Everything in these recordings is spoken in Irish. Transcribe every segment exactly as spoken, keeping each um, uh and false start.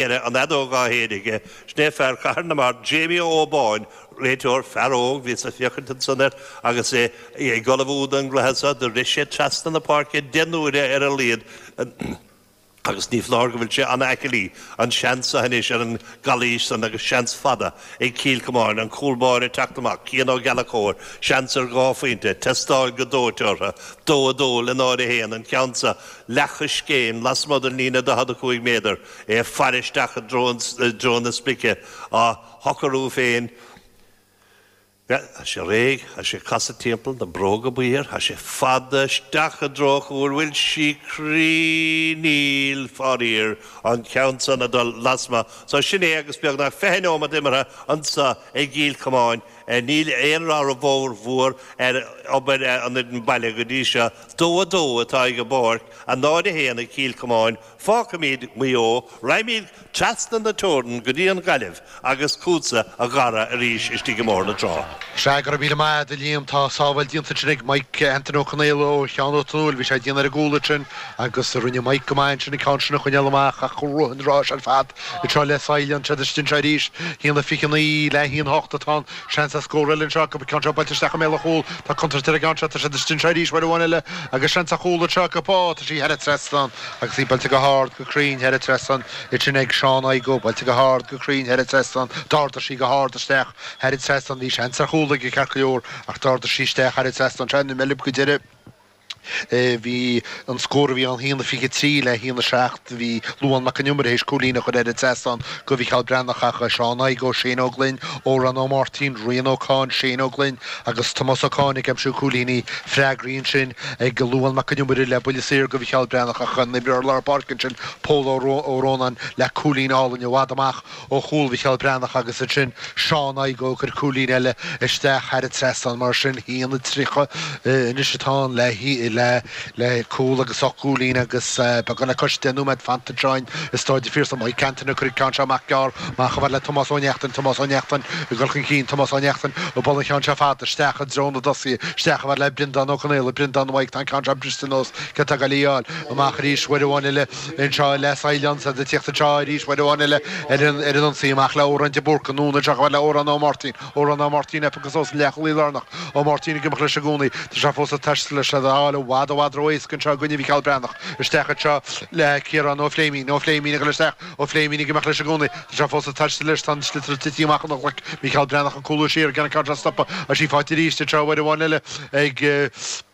An fheadóg á shéideadh aige, sin é fear Chathair na Mart, Jamie Ó Báin, réiteoir, fear óg, bhíos ag féachaint ansan air agus é ag ullmhú don gcluiche seo, do rith sé trasna na páirce deich n-uaire ar a laghad agus ní foláir go bhfuil sé an-aclaí, an seans seo anois ar an gcalaois san agus seans fada ag Cill Chomáin, an cúl báire ag teacht amach, Cian Ó Gallchóir, seans ar dhá phointe, teastáil go dóite orthu, dó a dó le náid a haon, an ceann seo leathchoiscéim lasmuigh den líne daichead a cúig méadar, é ag faire isteach i dtreo na sprice, á shocrú féin. Tá sé réidh, tá sé ag casadh timpeall, na bróga buí air, tá sé fada isteach i dtreo an chúil, bhfuil sí cruinn? Níl, faraor, an ceann san ag dul lasmuigh. So sin é agus beagnach fiche nóiméad imeartha anseo i gCill Chomáin. Níl aon rath mhór ar obair an fhoireann baile go dtí seo. Dó a dó atá ag an bpáirc, a náid a haon ag Cill Chomáin. Fágfaimid Maigh Eo, raghaimid trasna na teorann go dtí an Ghaillimh agus chugatsa a Dhara arís istigh i mBóthar na Trá. Sea, go raibh míle maith a'd a Liam. Tá sábháil déanta ansin ag Mike Anthony Ó Conaola ó Sheán Ó Tonúil. Bhí sé ag déanamh ar an gcúl ansin agus rinne Mike go maith ansin an ceann sin a choinneáil amach ach rith an ráis ar fad anseo le Saighleán. Siad istigh anseo arís. Haon a fiche naoi le haon hocht atá ann. Seans ar scór eile anseo acu. An ceann seo buailte isteach i mbéal an chúil. Tá contúirt ar an gceann seo. Tá siad istigh anseo arís uair amháin eile agus seans ar chúl anseo acu. Ó, tá sí thar an trasnán agus í buailte go hard, go cruinn thar an trasnán ansin ag Seán Igoe. Buailte go hard, go cruinn thar an trasnán. D'ardaigh sí go hard isteach thar an trasnán. Bhí seans ar chúl aige ceart go leor ach d'ardaigh sí isteach thar an trasnán. Sea, na meilb go deireadh. Bhí an scór a bhí ann haon a fiche trí le haon a seacht. Bhí Luán Mac an Iomaire théis cúilín a chur ar an trasnán go Mhicheál Breathnach ach Seán Igoe, Shane Ó Gloinn, Odhrán Ó Máirtín, Rian Ó Cáin, Shane Ó Gloinn agus Tomás Ó Cáin ag aimsiú cúilíní. Freagraí ansin ag Luán Mac an Iomaire le buille saor go Mhicheál Breathnach ach an imreoir lár páirce ansin Pól Ó Rónáin le cúilín álainn i bhfad amach ó chúl Mhicheál Breathnach agus ansin Seán Igoe ag cur cúilín eile isteach thar an trasnán. Mar sin, haon a tríocha anois atá ann le le le cúl agus ocht gcúilín agus beagán le cois deich nóiméad fanta anseo i Stáid an Phiarsaigh. Mike Anthony ag cur an ceann seo amach gearr amach chomh fada le Tomás Ó Neachtain. Tomás Ó Neachtain ag dul chun cinn. Tomás Ó Neachtain ag bualadh an cheann seo fada isteach i dtreo na dtosaithe. Isteach chomh fada le Breandán Ó Conaola. Breandán Mike, tá an ceann seo briste anuas. Cé atá ag goil í a fháil? Amach arís uair amháin eile. Anseo le Saighleán is iad ag tíocht anseo arís uair amháin eile ar an ar an ionsaí. Amach le Odhrán de Búrca. Anonn anseo chomh fada le Odhrán Ó Máirtín. Odhrán Ó Máirtín ag piocadh suas an leathchúlaí lárnach. Ó Máirtín ag imeacht leis i gcónaí. Tá sé fós ag taisteal leis. Iad á fháil i bhfad i bhfad ró-éasca anseo i gcoinne Mhicheál Breathnach. Isteach anseo le Ciarán Ó Fléimín. Ó Fléimín ag dul isteach. Ó Fléimín ag imeacht leis i gcónaí. Tá sé fós ag taisteal leis. Tá an sliotar tite amach óna ghlaic. Micheál Breathnach ag cúlú siar. Ag déanamh an ceann seo a stopadh. Tá sí faighte arís anseo uair amháin eile ag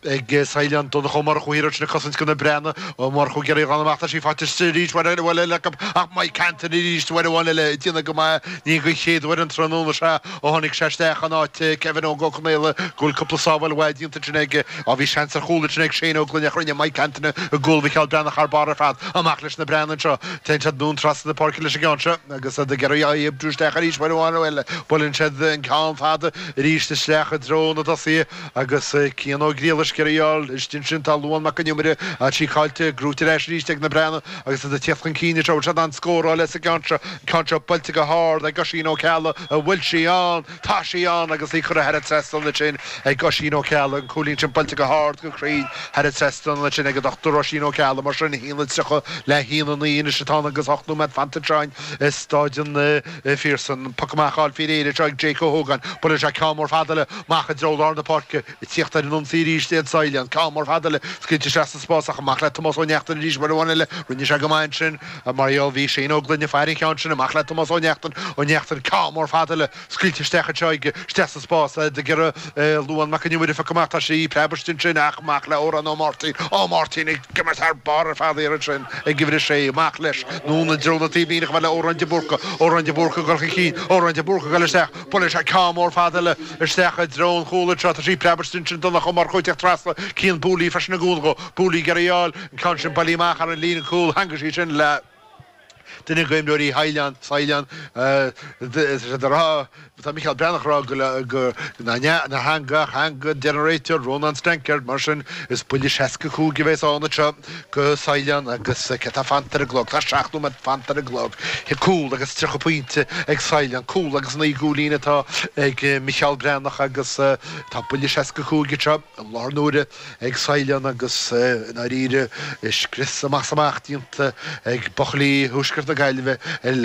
ag Saighleán. Donncha Ó Murchú thiar ansin ag cosaint do na Breathnaigh. Ó Murchú ag iarraidh a glanadh amach. Tá sí faighte arís uair amháin eile acu ach Mike Anthony arís uair amháin eile ag déanamh go maith. Ní den chéad uair an tráthnóna seo ó tháinig sé isteach in áit Kevin Óg Ó Conaola go bhfuil cúpla sábháil mhaith déanta ansin aige. Á bhí seans ar chúl ansin ag Shane Ó Gloinn ach rinne Mike Anthony i gcúl Mhicheál Breathnach thar barr ar fad. Amach leis na Breathnaigh anseo. Téann siad anonn trasna na páirce leis an gceann seo agus iad ag iarraidh é a oibriú isteach arís uair amháin eile. Buaileann siad an ceann fada arís isteach i dtreo na dtosaithe agus Cian Ó Griallais ag iarraidh í a fháil. Istigh ansin tá Luan Mac an Iomaire, tá sí caillte, gnóite ar ais arís ag na Breathnaigh agus iad ag tíocht chun cinn anseo. Bhfuil siad in ann scóráil as an gceann seo? An ceann seo buailte go hard ag Oisín Ó Ceallaigh. An bhfuil sí ann? Tá sí ann agus í curtha thar an trasnán ansin ag Oisín Ó Ceallaigh. An cúilín sin buailte go hard, go cruinn thar an trasnán ansin ag an Dochtúir Oisín Ó Ceallaigh. Mar sin, a haon a tríocha le haon a naoi anois atá ann agus ocht nóiméad fanta anseo i Stáid an Phiarsaigh. An poc amach á fháil faoi réir anseo ag Jake Ó hÓgáin. Buaileann sé ceann mór fada eile amach i dtreo lár na páirce. Ag tíocht ar an ionsaí arís iad Saighleán. Ceann mór fada eile scaoilte isteach sa spás ach amach le Tomás Ó Neachtain arís uair amháin eile. Rinne sé go maith ansin mar gheall bhí Shane Ó Gloinn ag faire an cheann sin. Amach le Tomás Ó Neachtain. Ó Neachtain ceann mór fada eile scaoilte isteach anseo aige isteach sa spás. Ag iarraidh Luan Mac an Iomaire a phiocadh amach. Tá sí preabtha ansin ach amach le Odhrán Ó Máirtín. Ó Máirtín ag imirt thar barr ar fad thiar ansin ag uimhir a sé. Amach leis anonn i dtreo na taobhlíne chomh fada le Odhrán de Búrca. Odhrán de Búrca ag dul chun cinn. Odhrán de Búrca ag dul isteach. Buaileann sé ceann mór fada eile isteach i dtreo an chúil anseo. Tá sí preabtha ansin Donncha Ó Murchú ag teacht trasna. Cian Booley freisin ag cúnamh dhó. Booley ag iarraidh í a fháil. An ceann sin bailithe amach ar an líne cúil. Theangaigh sí sin le duine d'imreoirí Shaighleáin. Saighleáin. Tá siad ag rá, tá Micheál Breathnach ag rá go go nár theangaigh ach theangaigh, deir an réiteoir, Rónán Stankard. Mar sin, is buille seasca cúig a bheas ann anseo go Saighleán agus cé tá fanta ar an gclog? Tá seacht nóiméad fanta ar an gclog. Cúl agus tríocha pointe ag Saighleán. Cúl agus naoi gcúilín atá ag Micheál Breathnach agus tá buille seasca cúig anseo i láthair na huaire ag Saighleán agus i ndáiríre scrios amach is amach déanta ag buachaillí Thuaisceart na Gaillimhe.